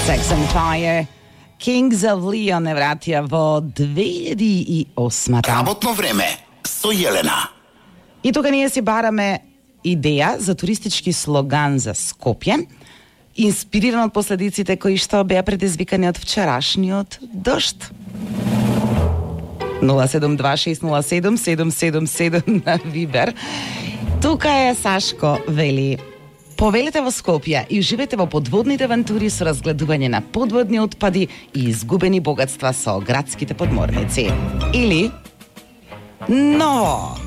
Sex and Fire, Kings of Leon не вратија во 2008. Работно време со Јелена. И тука ние си бараме идеја за туристички слоган за Скопје, инспириран од последиците кои што беа предизвикани од вчерашниот дожд. 072-607-777 на Вибер. Тука е Сашко, вели: повелете во Скопје и уживете во подводните авантури со разгледување на подводни отпади и изгубени богатства со градските подморници. Или но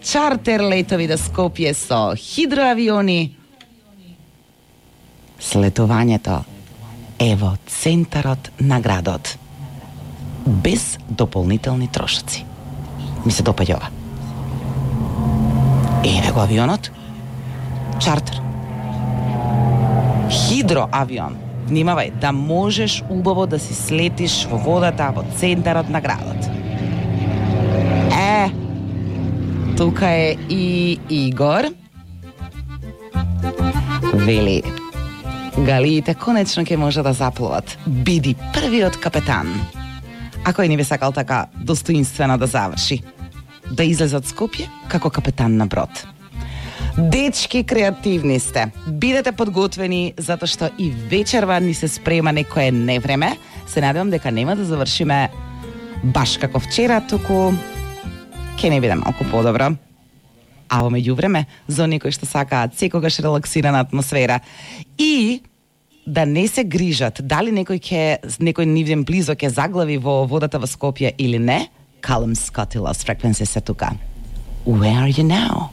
чартер летови до Скопје со хидроавиони. Слетувањето е во центарот на градот, без дополнителни трошоци. Ми се допаѓа ова. Еве го авионот. Чартер. Хидроавион. Внимавај, да можеш убаво да си слетиш во водата во центарот на градот. Тука е и Игор. Вели: галиите конечно ќе може да заплуват. Биди првиот капетан. А кој не би сакал така достоинствено да заврши? Да излезе од Скопје како капетан на брод. Дечки, креативни сте. Бидете подготвени, затоа што и вечерва ни се спрема некое невреме. Се надевам дека нема да завршиме баш како вчера, туку ќе не биде малку подобро. А во меѓувреме, за оние кои што сакаат секогаш релаксирана атмосфера и да не се грижат дали некој нивен близо ќе заглави во водата во Скопје или не, Callum Scott и Lost Frequencies се тука. Where are you now?